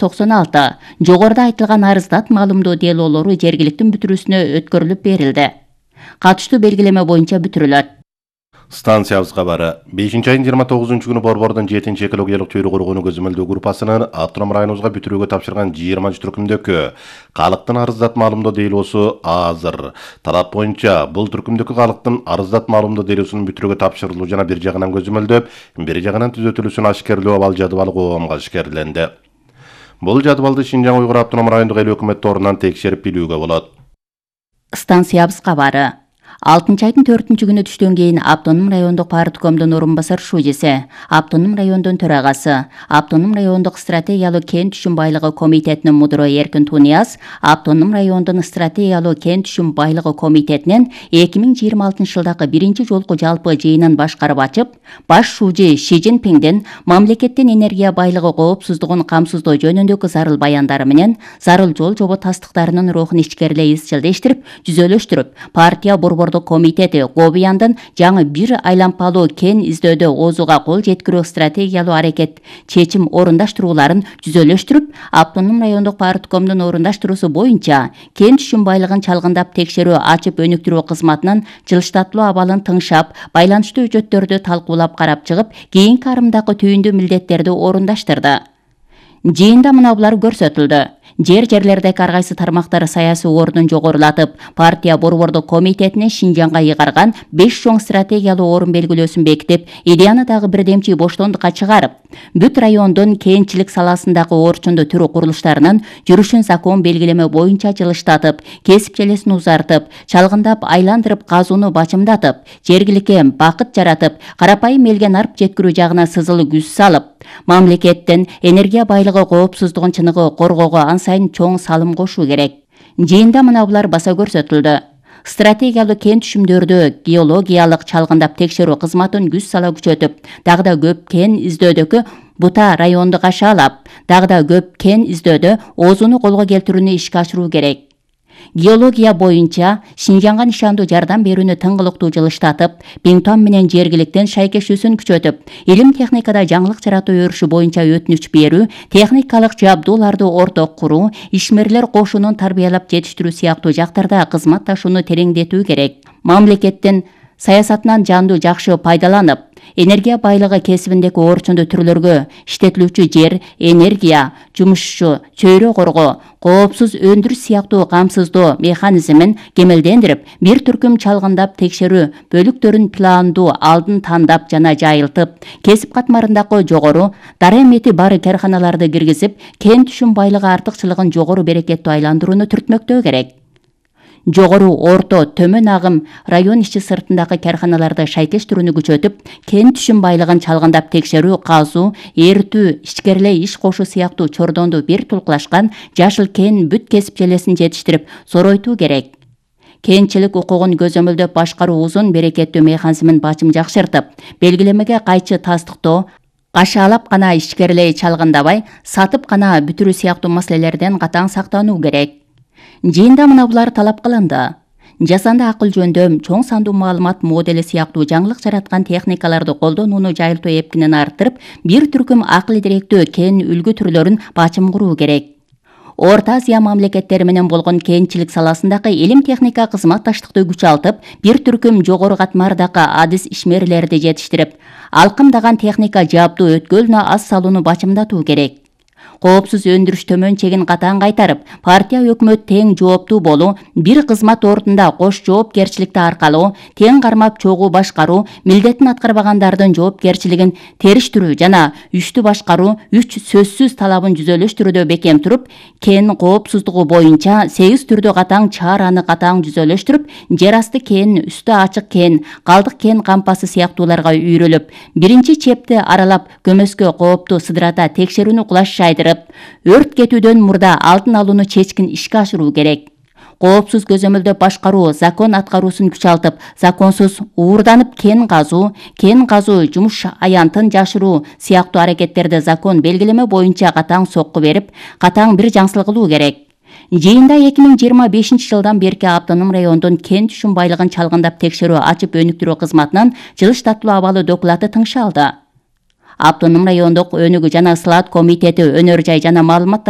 96. Жогоруда айтылган арыздат маалымдоо делоолору жергиликтин бүтүрүүсүнө өткөрүлүп берилди. Катыштуу белгилеме боюнча бүтүрүлөт. Станциябыз кабары 5-айдын 29-күнү Борбордун 7-чи экологиялык чөйрө коргонуу көзөмөлдөө группасынын автоном районубузга бүтүрүүгө тапшырган 20 түркүмдөгү калктын арыздат маалымдоо делоосу азыр. Талап боюнча бул түркүмдөгү калктын арыздат маалымдоо делоосунун бүтүрүүгө тапшырылуу жана бир жагынан көзөмөлдөп, бир жагынан түзөтүлүүсүн ашкерлөө абал жадыбалы коомго ашкерленди. Бул жадыбалды Шинжаң Уйгур автоном райондук эл өкмөт торунан текшерип билүүгө болот. Станциябыз кабары 6-айдын 4-күнү түштөн кийин автоном райондук парткомдун орун басар шужеси, автоном райондун төрагасы, автоном райондук стратегиялуу кен түшүм байлыгы комитетинин мудуру Эркин Тунияз, автоном райондун стратегиялуу кен түшүм байлыгы комитетинин 2026 жылдагы биринчи жолку жалпы жыйынын башкарып ачып, баш шужи Ши Цзиньпиндин мамлекеттин энергия байлыгы коопсуздугун камсыздоо жөнүндөгү зарыл баяндары менен зарыл жол жобо тастыктарынын рухун ичкерилей изчилдештирип, түзөлөштүрүп, партия борбордук комитети Гобияндын жаңы бир айланпалуу кен издөөдө оозуга кол жеткирүү стратегиялуу аракет чечим орундаштырууларын түзөлөштүрүп, автоном райондук парткомдун орундаштыруусу боюнча кен түшүм байлыгын чалгындап текшерүү ачып өнүктүрүү кызматынын жылыштатылуу абалын тыңшап, байланыштуу үчөттөрдү талкуулап карап чыгып, кийинки арымдагы түйүндүү милдеттерди орундаштырды. Жыйында мына булар көрсөтүлдү. Жерлердеги ар кайсы тармактар саясий ордун жогорулатып, партия борбордук комитетине Шинжаңга ыйгарган 5 чоң стратегиялуу орун белгилөөсүн бекитип, идеяны дагы бирдемчи боштондукка чыгарып, бүт райондун кенчилик саласындагы орчундуу түрү курулуштарынын жүрүшүн закон белгилеме боюнча жылыштатып, кесип желесин узартып, чалгындап айландырып казууну бачымдатып, жергиликке бакыт жаратып, карапайым элге нарп жеткирүү жагына сызылуу күч салып, мамлекеттин энергия байлыгы коопсуздугун чыныгы коргоого сайын чоң салым кошуу керек. Жыйында мына булар баса көрсөтүлдү. Стратегиялуу кен түшүмдөрдү геологиялык чалгындап текшерүү кызматын күч сала күчөтүп, дагы да көп кен издөөдөгү Бута районду кашаалап, дагы да көп кен издөөдө оозуну колго келтирүүнү ишке ашыруу керек. Геология боюнча Шинжаңга нишандуу жардам берүүнү тыңгылыктуу жылыштатып, Биңтуан менен жергиликтин шайкешүүсүн күчөтүп, илим техникада жаңылык жаратуу өрүшү боюнча өтүнүч берүү, техникалык жабдууларды орток куруу, ишмерлер кошунун тарбиялап жетиштирүү сыяктуу жактарда кызматташууну тереңдетүү керек. Мамлекеттин саясатынан жанду жакшы пайдаланып, энергия байлыгы кесибиндеги орчундуу түрлөргө иштетилүүчү жер, энергия, жумушчу, чөйрө коргоо, коопсуз өндүрүш сыяктуу камсыздоо механизмин кемелдендирип, бир түркүм чалгындап текшерүү бөлүктөрүн пландуу алдын тандап жана жайылтып, кесип катмарындагы жогору дарамети бар карханаларды киргизип, кен түшүм байлыгы артыкчылыгын жогору берекеттүү айландырууну түртмөктөө керек. Жогору, орто, төмөн агым район ичи сыртындагы карханаларды шайкештирүүнү күчөтүп, кен түшүм байлыгын чалгындап текшерүү, казуу, эритүү, ичкерилей иш кошуу сыяктуу чордонду бир тулкулашкан жашыл кен бүт кесип желесин жетиштирип, соройтуу керек. Кенчилик укугун көзөмөлдөп башкаруу узун берекеттүү механизмин бачым жакшыртып, белгилемеге кайчы тастыктоо, кашаалап гана ичкерилей чалгындабай, сатып гана бүтүрүү сыяктуу маселелерден катаң сактануу керек. Жыйында мына булар талап кылынды. Жасанды акыл жөндөм, чоң сандуу маалымат модели сыяктуу жаңылык жараткан техникаларды колдонууну жайылтуу эпкинин арттырып, бир түркүм акыл директүү кен үлгү түрлөрүн бачым куруу керек. Орто Азия мамлекеттери менен болгон кенчилик саласындагы илим техника кызматташтыкты күчалтып, бир түркүм жогору катмардагы адис ишмерлерди жетиштирип, алкымдаган техника жабдуу өткөлүнө аз салууну бачымдатуу керек. Коопсуз өндүрүш төмөн чегин катаң кайтарып, партия өкмөт тең жооптуу болуу, бир кызмат ордунда кош жоопкерчиликти аркалоо, тең кармап чогуу башкаруу, милдетин аткарбагандардын жоопкерчилигин териштирүү жана үчтү башкаруу 3 сөзсүз талабын жүзөлөштүрүүдө бекем туруп, кен коопсуздугу боюнча 8 түрдө катаң чараны катаң жүзөлөштүрүп, жер асты кен, үстү ачык кен, калдык кен кампасы сыяктууларга үйрөлүп, биринчи чепти аралап, көмөскө коопту сыдырата текшерүүнү кулаш жайдырып, өрт кетүүдөн мурда алдын алууну чечкин ишке ашыруу керек. Коопсуз көзөмөлдөп башкаруу, закон аткаруусун күчалтып, законсуз уурданып кен казуу, жумуш аянтын жашыруу сыяктуу аракеттерди закон белгилеме боюнча катаң сокку берип, катаң бир жаңсыл кылуу керек. Жыйында 2025 жылдан берки автоном райондун кен түшүм байлыгын чалгындап текшерүү ачып өнүктүрүү кызматынан жылыштатылуу абалы доклаты тыңшалды. Автоном райондук өнүгүү жана слаат комитети өнөр жай жана маалымат